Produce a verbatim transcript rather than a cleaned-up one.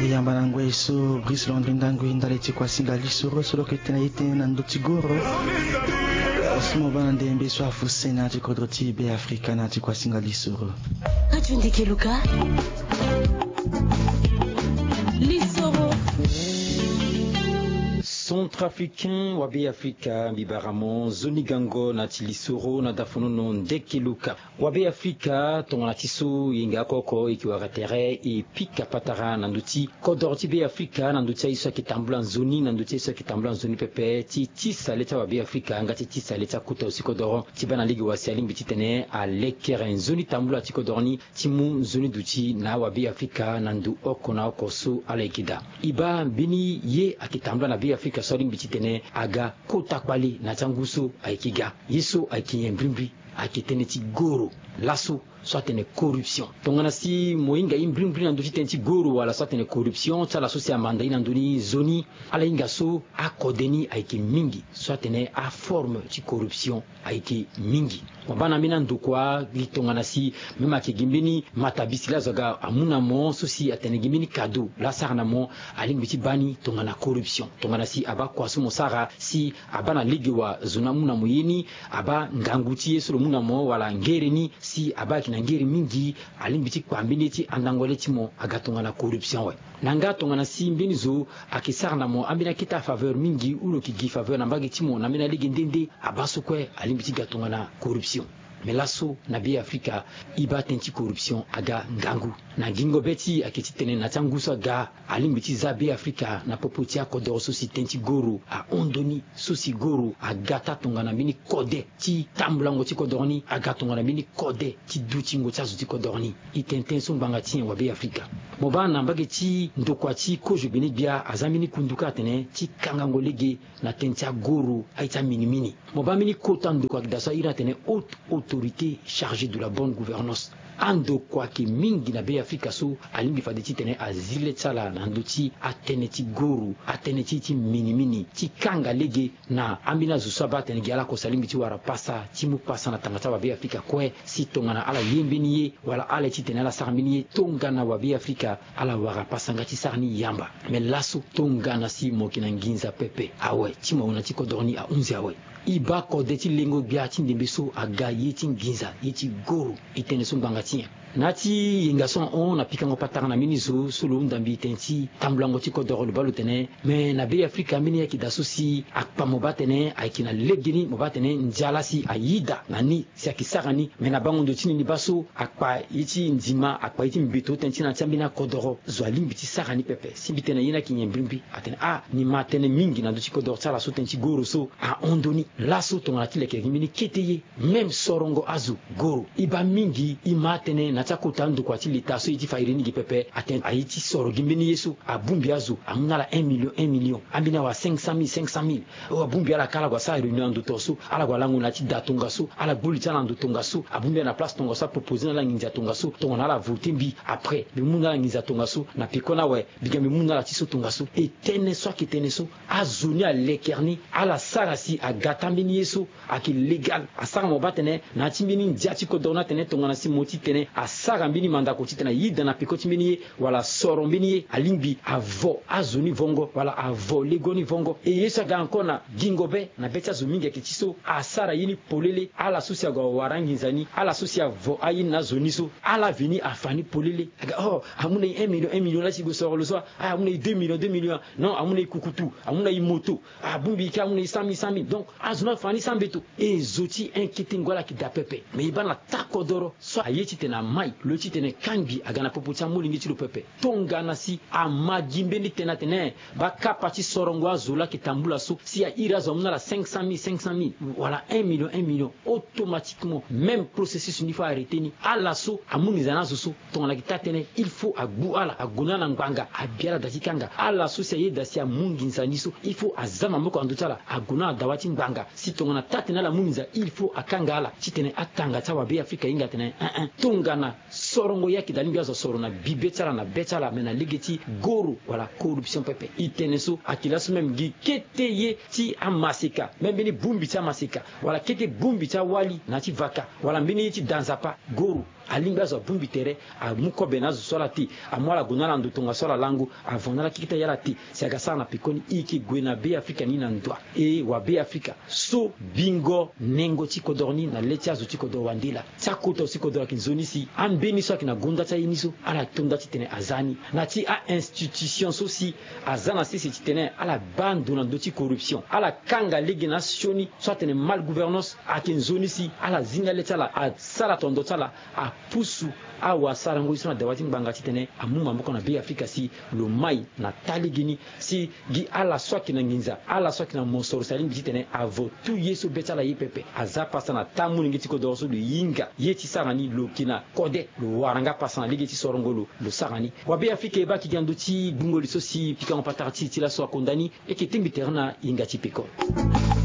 Yamba na ngoi so Brice Landry Ndangui ndali ti kuasinga lisoro so lo yeke tene e tene na ndö ti goro. Si mo baa na ndembe so afuse na ya ti kodro ti Be Afrika na ya ti kuasinga lisoro. Radio Ndeke Luka. Lisoro. Centrafricain wa Be Afrika, mbi bara mo nzoni gango na ya ti lisoro na dafonono Ndeke Luka. Wa Be Afrika, tongana ti so e yeke oko oko e yeke wara tere e pika patara na ndö ti kodoro ti Be Afrika, na ndö ti aye so ayeke tambula nzoni, na ndö ti aye so ayeke tambula nzoni pepe, ti tisa le ti awa Be Afrika nga ti tisa le ti akota aussi kodoro, ti baa na lege wa si alingbi titene alekere nzoni tambula ti kodoro ni, ti mu nzoni duti na awa Be Afrika na ndo oko na oko so ala yeke daa. E baa mbeni ye ayeke tambula na Be Afrika so alingbi titene aga kota kpale na ya ti angu so ayeke ga. Ye so ayeke nyen mbrimbri? Ayeke tënë ti goro laso so atene corruption. Tongana si mo hinga ye mbrimbri na ndö ti tënë ti goro wala so atene corruption ti ala so si amanda ye na ndö ni nzoni, ala hinga so akode ni ayeke mingi, so atene aforme ti corruption ayeke mingi. Mo baa na ambeni andokua gi tongana si même ayeke gi mbeni matabisi laa azo aga amu na mo so si atene gi mbeni cadeau laa asara na mo, alingbi ti baa ni tongana corruption. Tongana si abaa kua so mo sara si abaa na lege wa zo ni amu na mo ye ni, abaa ngangu ti ye so lo mu na mo wala ngere ni, si abaa ayeke na ngere mingi, alingbi ti kpa mbeni ye ti andango le ti mo aga tongana corruption awe. Na nga tongana si mbeni zo ayeke sara na mo ambeni akete afaveur mingi ou lo yeke gi faveur na mbage ti mo na ambeni alege nde nde, abaa so kue alingbi ti ga tongana corruption. Me laso na Be Afrika, e baa tënë ti corruption aga ngangu. Na gingo be ti e ayeke titene na ya ti angu so aga, alingbi ti za Be Afrika na popo ti akodoro so si tënë ti goro ahon ndoni, so si goro aga taa tongana mbeni kode ti tambulango ti kodoro ni, aga tongana mbeni kode ti dutingo ti azo ti kodoro ni. E tene tënë so ngbanga ti nyen wa Be Afrika? Mo baa na mbage ti ndokua ti kozo gbene-gbia aza mbeni kundu kâ atene ti kangango lege na tënë ti agoro aye ti aminimini. Mo baa mbeni kota ndokua ayeke daa so a iri atene haute autorité chargée de la bonne gouvernance. Andokua ayeke mingi na Be Afrika so alingbi fade titene azi le ti ala na ndö ti atënë ti goro, atënë ti ye ti minimini, ti kanga lege na ambeni azo so abaa atene gi ala oko si alingbi ti wara pasa ti mu pasa na tanga ti awa Be Afrika kue, si tongana ala ye mbeni ye wala ala ye titene ala sara mbeni ye tongana wa Be Afrika, ala wara pasa nga ti sara ni yamba. Me laso tongana si mo yeke na nginza pepe awe, ti mo awe na ti kodoro ni ahunzi awe. E baa kode ti lengo gbia ti ndembe so aga ye ti nginza, ye ti goro. E tene so ngbanga ti nyen? Na ya ti yenga so ahon na pikango patara na mbeni zo so lo hunda mbi tene ti tambulango ti kodoro, lo baa lo tene me na Be Afrika ambeni ye ayeke daa so si akpa mo baa tene ayeke na legeni, mo baa tene ndia laa si ayida na ni si ayeke sara ni. Me na bango ndo ti ni ni baa so akpa ye ti ndima, akpa ye ti mbeto tënë ti na ya ti ambeni akodoro, zo alingbi ti sara ni pepe. Si mbi tene na ye ni ayeke nyen mbrimbri? Atene ah, ni ma tënë mingi na ndö ti kodoro ti ala so tënë ti goro so ahon ndoni. Laso tongana ti leke gi mbeni kete ye, même sorongo azo goro. E baa mingi e ma atene na ya ti akota andokua ti leta so e ye ti fa iri ni gi pepe, atene aye ti soro gi mbeni ye so, abongbi azo amu na ala un million, un million, ambeni awa cinq cent mille, cinq cent mille. O abongbi ala ka ala gue asara réunion na ndo tongaso, ala gue alango na ya ti da tongaso, ala gbu li ti ala na ndo tongaso, abongbi ala na place tongaso, apropose na ala nginza tongaso, tongana ala vote mbi, après mbi mu na ala nginza tongaso, na peko ni awe mbi ga mbi mu na ala ti so tongaso. E tënë so ayeke tënë so, azo ni alekere ni, ala sara si aga taa mbeni ye so ayeke légal. Asara mo baa tene na ya ti mbeni ndia ti kodoro ni atene tongana si mo titene asara mbeni mandako titene ayida na peko ti mbeni ye, wala asoro mbeni ye, alingbi avo azo ni vongo wala avo lego ni vongo. E ye so aga encore na gingo be na be ti azo mingi ayeke ti so asara ye ni polele. Ala so si ague awara anginza ni, ala so si avo aye ni na azo ni so, ala veni afa ni polele. Aga oh, amu na e un million, un million laa si e gue soro lo so, ah, amu na e deux millions, deux millions. Non, amu na e kukutu, amu na e moto. Abongbi e kâ amu na e cent mille, cent mille. Donc azo ni afa ni sans mbeto. E zo ti inquiéter ngo ala yeke daa pepe. Mais e baa na taa kodoro so aye titene amai lo ye titene kangbi aga na popo ti amolenge ti lo pepe. Tongana si ama gi mbeni tënë atene bakapa ti sorongo azo laa ayeke tambula so, si a iri azo amu na ala cinq cent mille, cinq cent mille, wala un million, un million, automatiquement même processus ni faut arrêter ni. Ala so amu nginza na azo so, tongana ayeke taa tënë, il faut agbu ala, ague na ala na ngbanga, abi ala daa ti kanga. Ala so si aye daa si amu nginza ni so, il faut aza maboko na ndö ti ala, ague na ala dawa ti ngbanga. Si tongana taa tënë ala mu nginza, il faut akanga ala. Titene atanga ti awa Be Afrika ahinga atene, hein, hein, tongana sorongo ye ayeke daa alingbi azo asoro na bibe ti ala na be ti ala, me na lege ti goro wala corruption pepe. E tene so ayeke laso même gi kete ye ti amaseka, même mbeni bongbi ti amaseka, wala kete bongbi ti awali na ya ti vaka, wala mbeni ye ti da nzapa, goro. Alingbi azo abongbi tere, amu kobe na azo so ala te, amu ala gue na ala ndo tongaso ala lango. Avant na ala kikita ye ala te. Si aga sara na pekoni, e yeke gue na Beafrika ni na ndoa. E wabeafrika, so bingo nengo ti kodoro ni na le ti azo ti kodoro wande laa. Ti akota so ti kodoro ayeke nzoni si ambeni so ayeke na gonda ti aye ni so ala to nda titene aza ni na ti a-institution so si aza na sese titene ala baa ndo na ndö ti corruption, ala kanga lege na asioni so atene mal gouvernance. Ayeke nzoni si ala zinga le ti ala, asara tondo ti ala, apusu awasarango ye so na dawa ti ngbanga titene amu maboko na Beafrika si lo mai na taa lege ni. Si gi ala so ayeke na nginza, ala so ayeke na mosoro si alingbi titene avo tu ye so be ti ala ye pepe, aza pasa na taa molenge ti kodoro so lo hinga ye ti sara ni. Lo yeke na kode, lo wara nga pasa na lege ti sorongo lo, lo sara ni. Wabeafrika e baa ayeke gi na ndö ti gbungo li so si pikango patara ti e ti laso akonda ni. E yeke tengbi tere na hinga ti peko.